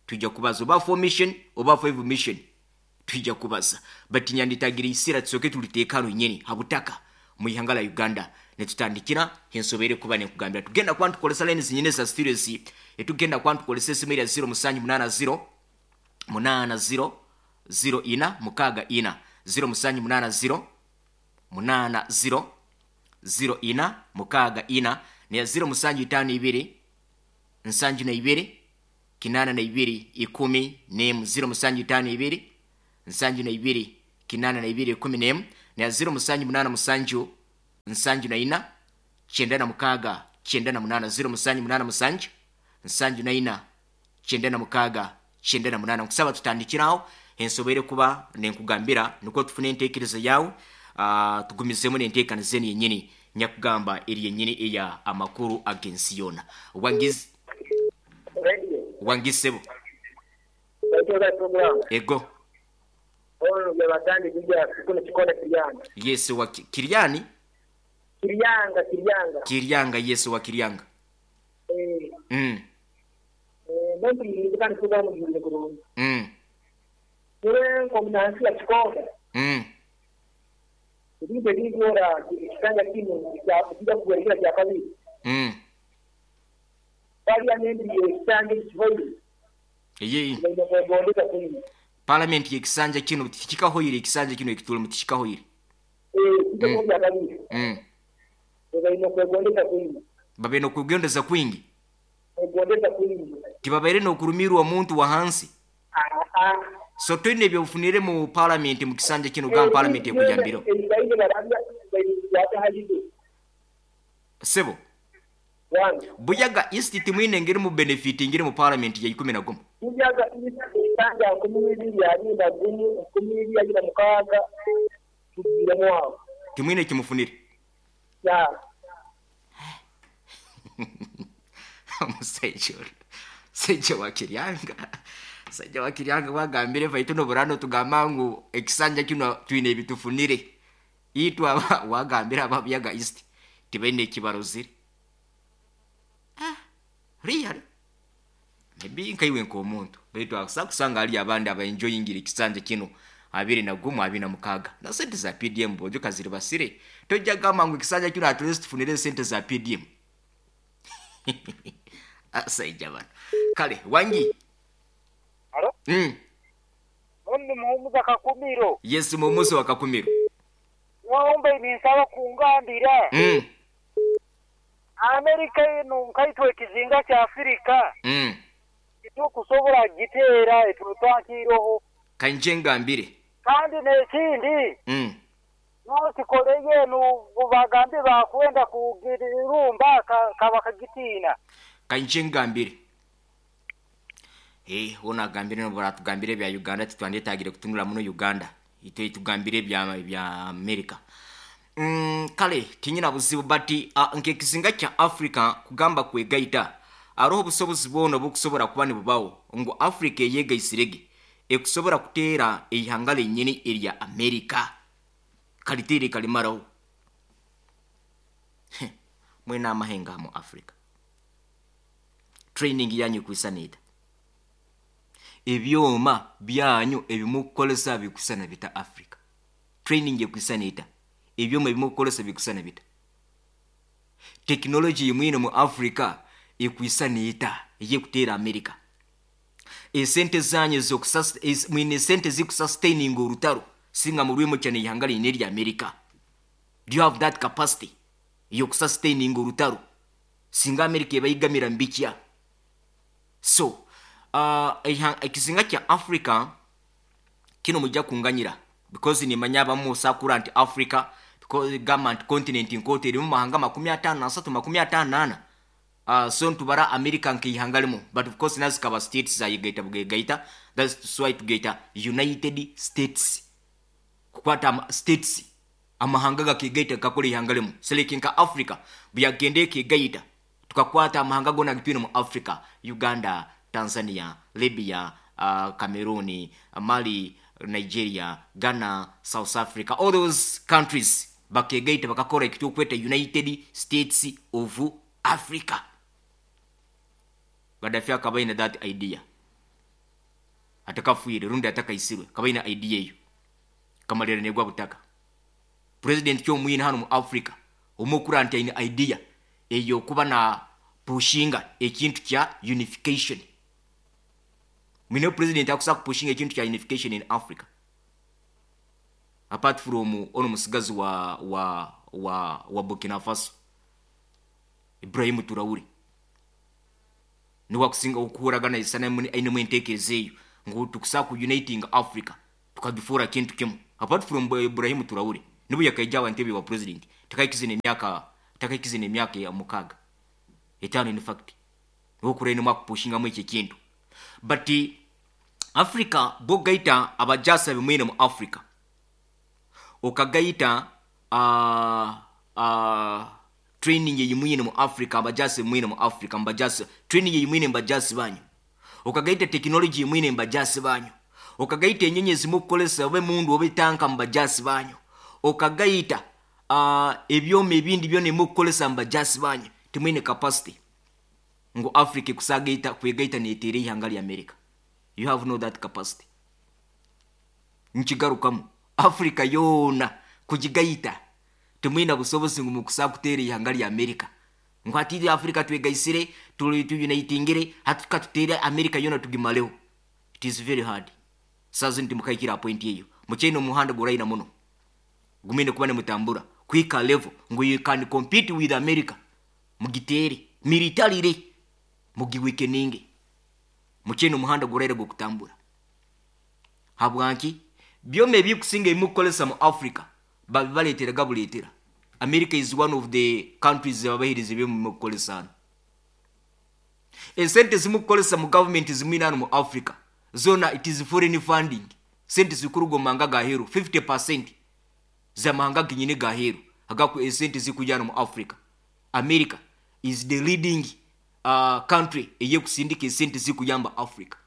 tujja kubaza oba four mission oba five mission, tujja kubaza. But nyanditagira isira tusoke tuliteekano nyeni habutaka mu ihanga la Uganda netutandikira ensobere kuba nekugambira. Tugenda kuba ntukolesa line zinyine za studios, etugenda kuba ntukolesa esimu erya zero musanju munana zero munana zero zero ina mukaaga ina, zero musanju munana zero munana zero zero ina mukaaga ina, neya zero musanju itaano ibiri nsanju na ibiri kinana na ibiri ikumi nemu, zero musanju itaano ibiri nsanju na ibiri kinana na ibiri ikumi nemu, neya zero musanju munana musanju nsanju na ina kyenda na mukaaga kyenda na munana, zero musanju munana musanju nsanju na ina kyenda na mukaaga kyenda na munana. Nkusaba tutandikiraho. Ensoboire kuba nenkugambira nukwo tufune enteekereza yawe, uh, tugumizemu n'enteekaniza enu yennyini nyakugamba eri yennyini eya amakuru ag'ensi yoona. Wangizi Radio. wangisebo Baitoza program. Ego. Ono byabatandi bijja kuno kikonda Kiryanga. Yesu wa Kiryani? Kiryanga, Kiryanga. Kiryanga, Yesu wa Kiryanga. Eh. Mm. Eh, muntu yizikana program yizikana kurungi. Mm. Yule kombinasi ya kikonda. Mm. Ebintu ebigora ekisanja kino kya kuwerekera kya kabiri. Mm. Parliament y'ekisanja kiboyi. Ye. Parliament y'ekisanja kino tikikahoyire, ekisanja kino ekitule mu tikikahoyire. Eh, mm. Mm. Babaine kwegondeza kwingi. Babaine kwegondeza kwingi. Kwegondeza kwingi. Tibabaire n'okurumirwa omuntu wa hansi. Ah ah. So twine ebyofunire mu parliament mu kisanja kino gamba parliament ekujambiro. Sebo. Buyaga East timwine ngeri mu benefit ngeri mu parliament ya ikumi na gumu. Buyaga East isanja nkumi ibiri abiri na gumu nkumi ibiri abiri na mukaaga tugiremu awo. Timwine kimufunire. Ya. Omusajja ono. Sajja wa Kiryanga. Sajja wa Kiryanga wagambire baitu noburano tugamba ngu ekisanja kino twine ebitufunire. Itwa wagambira aba Buyaga East tibaine ekibarozire. Ah, really? Maybe nkaiwe nk'omuntu baitu akusa kusanga ali abandi aba enjoyingira ekisanja kino abiri na gumu abiri na mukaga na sente za P D M bojo kaziri basire tojja gamba ngu ekisanja kino at least tufunire sente za P D M. Asaija bano kale wangi. Alo? Mm. Ondi muhumuza Kakumiro. Yes, muhumuza wa Kakumiro. Waombe ninsaba kungambira. Mm. Amerika eno nkaitwe ekizinga kya Afrika. Mm. Kitukusobola giteera etutwankiroho. Kanje ngambire. Kandi n'ekindi. Mm. Nokikoleye eno bagambe bakwenda kugirumba kabakagitiina. Kanje ngambire. Eh, ona gambire no baratugambire bya Uganda titwandetagire kutunula muno Uganda. Ite tugambire bya bya America. Mm, kale tinyina buzibu bati uh, nke kizinga kya Africa kugamba kwegaita aroho busobozi bwono bukusobola kuba nibubawo ngo Africa eyegaisirege ekusobola kuteera eihanga lennyini erya America kalitere kalimarawo. Mwena amahenga mu Africa training yanyu kwisanida ebyoma byanyu ebimukolesa bikusana bita Africa training ekwisanida ebyoma ebimukolesa bikusana bita technology imwino mu Africa ekwisanita eyekutera America esente zanyu zo mwine sente zikusustaining orutaro singa murwimo cyane ihanga line rya America. Do you have that capacity yokusustaining orutaro singa America ebayigamira mbikya? So uh, ekizinga kya Africa kino mujja kunganyira because ni manya abamu sakura nti Africa because government continent nkote eri mu mahanga makumi atano na asatu makumi atano na ana. Uh, so ntubara America nkihanga limu but of course nazikaba states za yigaita bugegaita, that's why tugaita United States kukwata states amahanga gakigaita gakora ihanga limu selekinka Africa buyagende kigaita tukakwata amahanga gona gitwine mu Africa Uganda, Tanzania, Libya, uh, Cameroon, Mali, Nigeria, Ghana, South Africa, all those countries bakegaita bakakora ekitukweta United States of Africa. Gaddafi akabaina that idea atakafuire rundi atakaisirwe kabaina idea eyo kamalira negwa butaka. President kyo mwine hano mu Africa omukura nti aine idea eyo kuba na pushinga ekintu kya unification. Mwine president akusa kupushinga ekintu kya unification in Africa apart from ono musigazi wa wa wa wa Burkina Faso Ibrahim Traore niwa kusinga okuhuragana isana aine mwentekereza eyo ngu tukusa ku uniting Africa tukagifura kintu kimu apart from Ibrahim Traore nibu yakaija wa ntebe wa president takaikize emyaka takaikize emyaka ya mukaga etano in fact niwo kurene mwakupushinga mu ekyo kintu. But Africa bogaita abajasa bimwine mu Africa okagaita uh, uh, training yimwine mu Africa abajasi bimwine mu Africa mbajasi training yimwine mbajasi banyu okagaita technology yimwine mbajasi banyu okagaita enyenye zimukukolesa obe mundu obe tanka mbajasi banyu okagaita uh, ebyoma ebindi byona emukukolesa mbajasi banyu timwine capacity ngo Africa kusagaita kwegaita netere ihanga lya America. You have no that capacity. Nchigarukamu Africa yona kujigaita timwina busobozi ngu mukusa kutere ihanga lya America ngo ati Africa twegaisire tuli tuyunaitingire hatuka tutere America yona tugimaleho. It is very hard. Sazi nti mukaikira point eyo muchaino muhanda guraina muno gumine kuba ne mutambura kwika level ngo you can compete with America mugitere militarily mugiwekeninge muchaino muhanda guraira gukutambura habwanki byome ebikusinga emukolesa mu Africa babibaletera gabuletera. America is one of the countries abahiriza byemukolesa esente zimukolesa mu government zimwina mu Africa zona it is foreign funding sente zikurugo manga gaheru fifty percent za mahanga ginyine gaheru agaku esente zikujana mu Africa. America is the leading uh, country eye kusindika esente zikuyamba Africa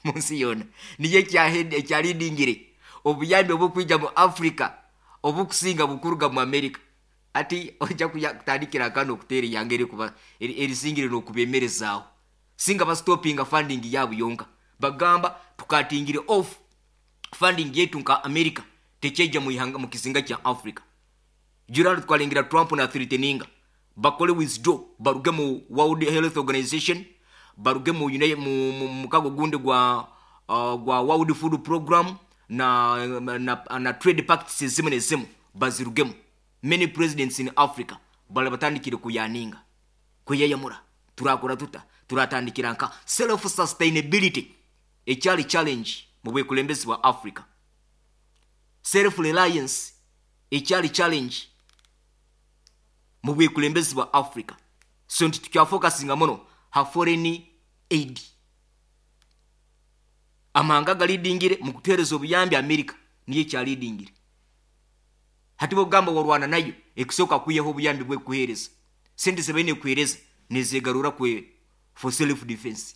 munsi yona niye kyahede kyalidingire obuyambi obukwija mu Africa obukusinga bukuruga mu America. Ati ojja kutandikira kano okuteera yange eri kuba erisingire n'okubemerezaawo singa bastopinga funding yaabo yonka bagamba tukatingire off funding yetu nka America tekyejja mu ihanga mu kisinga kya Africa. Jurano twalingira Trump na threateninga bakole withdraw baruge mu World Health Organization baruge mu mu mukago gundi gwa uh, gwa World Food Program na na, na trade pacts zimu ne zimu bazirugemu. Many presidents in Africa bale batandikire kuyaninga kuyayamura turakora tuta turatandikira nka self sustainability ekyali challenge mu bwekulembezi bwa Africa. Self reliance ekyali challenge mu bwekulembezi bwa Africa. So nti tukyafocusinga muno ha foreign aid amahanga galidingire mu kuteereza obuyambi America niye kyalidingire. Hati bogamba warwana nayo ekusooka kuyeho obuyambi bwekuheereza sente zebaine kuheereza nezegarura kwe for self defense.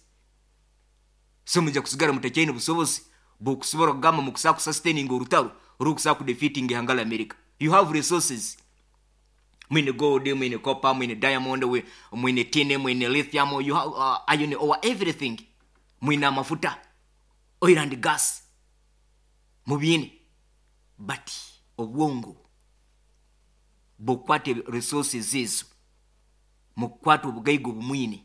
So mujja kusigala mutakyaine busobozi bw'okusobola kugamba mu kusaa kusustaininga orutaro orukusaa kudefeatinga ihanga la America. You have resources mwine gold, mwine copper, mwine diamond, mwine tin, mwine lithium, you have uh, iron ore, everything. Mwine amafuta, oil and gas mubyine, but obwongo bukwate resources ezo mukwate obugaiga obumwine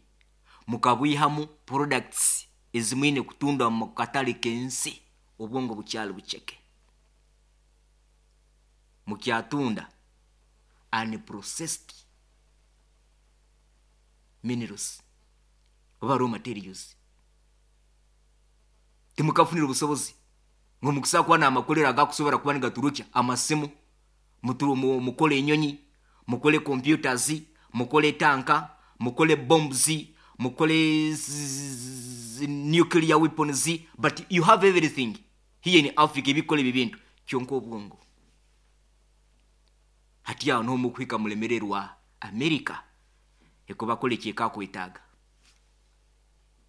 mukabwihamu products ezimwine kutunda mu katale k'ensi obwongo bukyali bucheke mukyatunda unprocessed minerals oba raw materials. Timukafunira obusobozi ngo mukusa kuba n'amakolero agakusobola kuba nigaturukya amasimu mukole enyonyi mukole computers mukole tanka mukole bombs mukole nuclear weapons, but you have everything here in Africa ebikola ebyo bintu kyonka obwongo hati awo n'omukwika mulemererwa America ekubakola ekyekakwetaaga.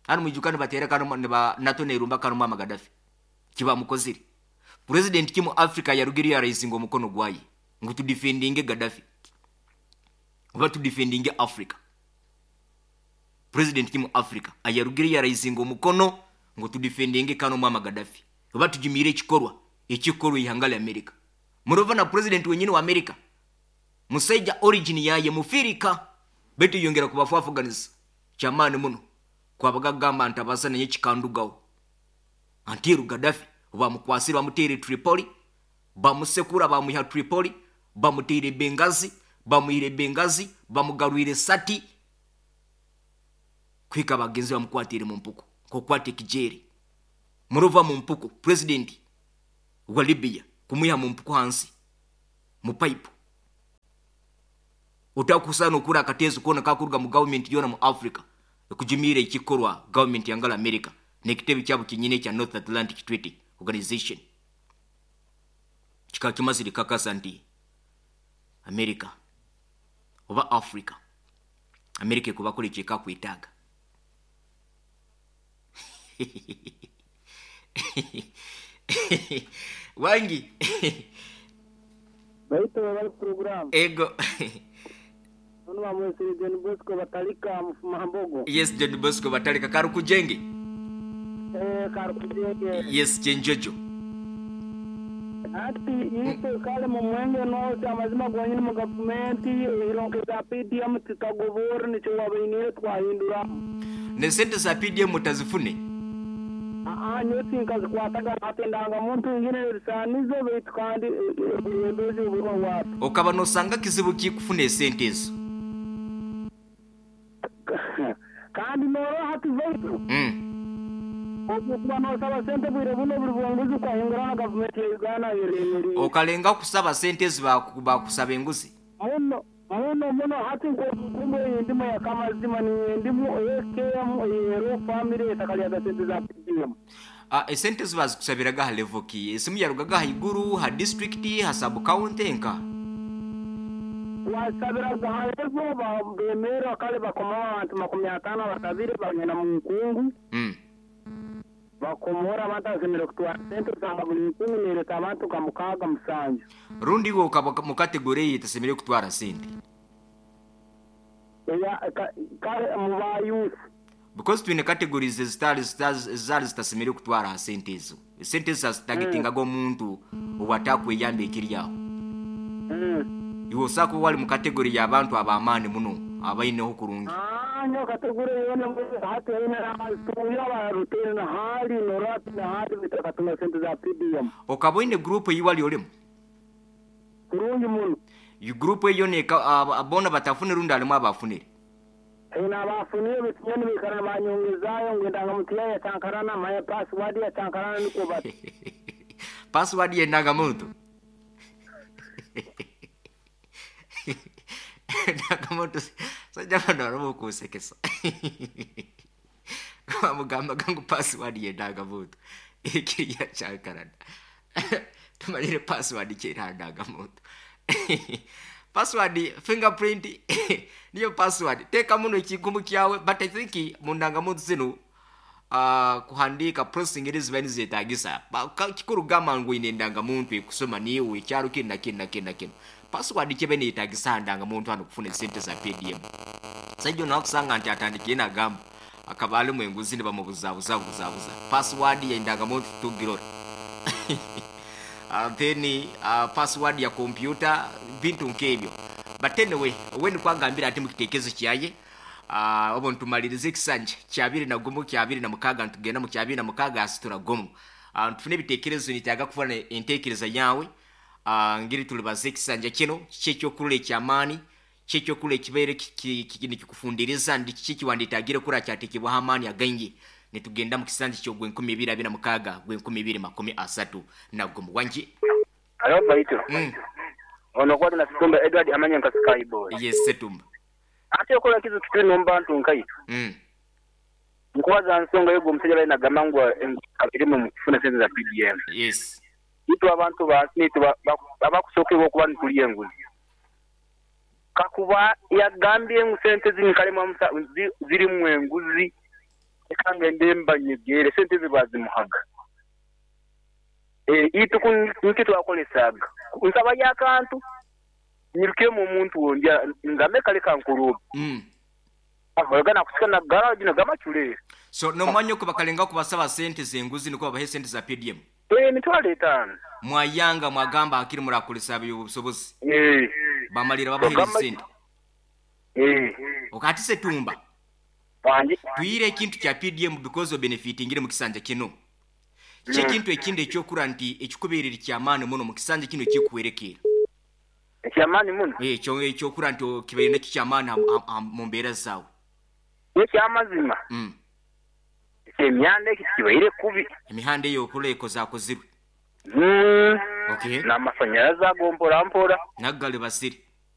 Hano mwijuka nibateera kano niba NATO nerumba kano mama Gaddafi kibamukozire president kimu Africa yarugiri yaraisinga omukono gwaye ngu tudefendinge Gaddafi oba tudefendinge Africa. President kimu Africa ayarugiri yaraisinga omukono ngu tudefendinge kano mama Gaddafi oba tujimire ekikorwa ekikorwa ihanga lya America. Murova na president wenyini wa America musaija origin yaye mufirika betu yongera kubafafuganiza kyamaani muno kwabagagamba nti abasa naye kikandugawo antiru Gaddafi bamukwasira bamuteere Tripoli bamusekura bamuha Tripoli bamuteere Benghazi bamuhire Benghazi bamugarwire Sati kwika bagenzi bamukwatire mu mpuku kokwate kijeri muruva mu mpuku president wa Libya kumuha mu mpuku hansi mu pipe utakusana okura akatezo kona kakuruga mu government yona mu Africa kujimire ikikorwa government yangala America N'ekitebe kyabo kyenyini ekya North Atlantic Treaty Organization kikaba kimazire kakasa nti America oba Africa, America ekubakora ekyekakwetaaga. Wangi Baito bali program. Ego. Ono bamwesere John Bosco Batalika Mfumambogo. Yes, John Bosco Batalika Karukujenge. Eh, Karukujenge. Yes, Chenjojo. Ati yito kale mu mwenge no amazima gwanyini mu gavumenti ironkeza P D M tutagobora nicho wabainire twahindura. Ne sente za P D M mutazifune? Ah, nyoti nkazikwataga atendanga muntu ngine risanizo baitu kandi ebezi ubwo watu. Okaba nosanga kizibu ki kufuna esente ezo? Kandi noro hati vaitu. Mm. Okuba nosaba sente bwire buno buli bwonguzi kwahingura na gavumenti ya Uganda yeremeri. Okalenga kusaba sente ezo bakusaba enguzi? Muno muno muno hati nkumbo endimo ya kamazima ni endimo S K M ero family etakalya sente za P D M. Ah, esente zo bazikusabiraga ha level ki? Esimu yarugaga ha iguru, ha district, ha sub county nka? Wasabiraga ha level ba bemera kale bakoma abantu makumi atano basabire bagenda mu nkungu. Mm. Bakomora abantu asemere kutwara sente usanga buli nkungu nereta abantu kamukaga musanju. Rundi wo mu category etasemere kutwara sente. Ya kale mu ba youth. Because twine categories ezitali ezali zitasemere kutwara sente ezo. Sente zitagetinga go muntu obatakweyamba ekiryaho. Mm. Iwo sako wali mu category y'abantu abamaani muno abaineho kurungi. Ah, nyo category yona hati ina tuya ba rutene na hali norati na hali bitakatuma sente za P D M. Okaboine group yiwali olemu. Kurungi muno. Yu group eyo ne abona batafune rundi alimu abafunire. Ina bafunire bitinyeni bikara banyongezayo ngenda mutiya ya tankarana maya password ya tankarana niko bat. Password ye nagamuntu. Nagamuntu sajja bano baramu kusekesa. Mugamba gangu password ye nagamuntu. Ekiriya chankarana. Tumalire password kera nagamuntu. Password fingerprint niyo password teka muno ekigumu kyawe, but I think mundanga muntu zino uh, kuhandika processing eri ziba nizetagisa kikuru gamba ngu ine ndanga muntu ekusoma niwe ekyaro kina kina kina kina password kyebe niyetagisa ndanga muntu hano kufuna sente za P D M. Sajjo nakusanga nti atandikiye nagamba akaba ali mu enguzi ne bamubuzabuza buzabuza password ya ndanga muntu tugirora. Uh, then uh, password ya computer bintu nkebyo. But anyway, when kwagambira ati mukitekezo kyaye uh, obo ntumalirize ekisanja kyabiri na gumu kyabiri na mukaga ntugenda mu kyabiri na mukaga asitura gumu. Uh, ntufune bitekerezo nitaga kufana entekereza yawe uh, ngiri tulibaze ekisanja kino kyekyokulula ekyamaani kyekyokulula ekibeere kikufundiriza ndi kiki wanditagire kura kyatekebwa amaani againgi. Nitugenda mu kisanja ky'ogwe enkumi ibiri abiri na mukaga gwe enkumi ibiri makumi asatu na gumu. Wangi alo baito. Mm. Ono kwali na Setumba Edward amanya nka Sky Boy. Yes, Setumba. Ate okola kizu kitwe nomba ntu nkaitu. Mm. Nkuwaza nsonga yego omusajja bali nagamangwa kabirimu mu kufuna sente za P D M. Yes. Itu abantu ba nitu abakusookerwa okuba nituliye enguzi. Kakuba yagambye ngu sente zini kalemu zirimu enguzi. Ekanga ndemba nyegere sente zibazimuhaga. Eh itu kun twakolesaga. Nsaba yakantu nyirukemo omuntu wondya ngame kale kankuruba. Mm. Avagana kusika na garage na gamachule. So no mwanyo kubakalenga kubasaba sente zenguzi niko babahe sente za P D M. Eh mitwalo etano. Mwayanga mwagamba akiri murakolesa obusobozi. Eh. Bamalira babahe sente. Eh. Okati Setumba. Wangi. Tuyire ekintu kya P D M because of benefiting mu kisanja kino. Kye kintu ekindi ekyokura nti ekikubeerera kyamaani muno mu kisanja kino ekikuwerekera. Ekyamaani muno? Eh, ekyo ekyokura nti kibeere nekikyamaani mu mbeera zaawe. Ekyamazima. Mm. Emyanda ekibaire kubi. Emihanda eyo okola ekozakozirwe. Mm. Okay. N'amasanyalaze ago mpora mpora. Naggale basiri.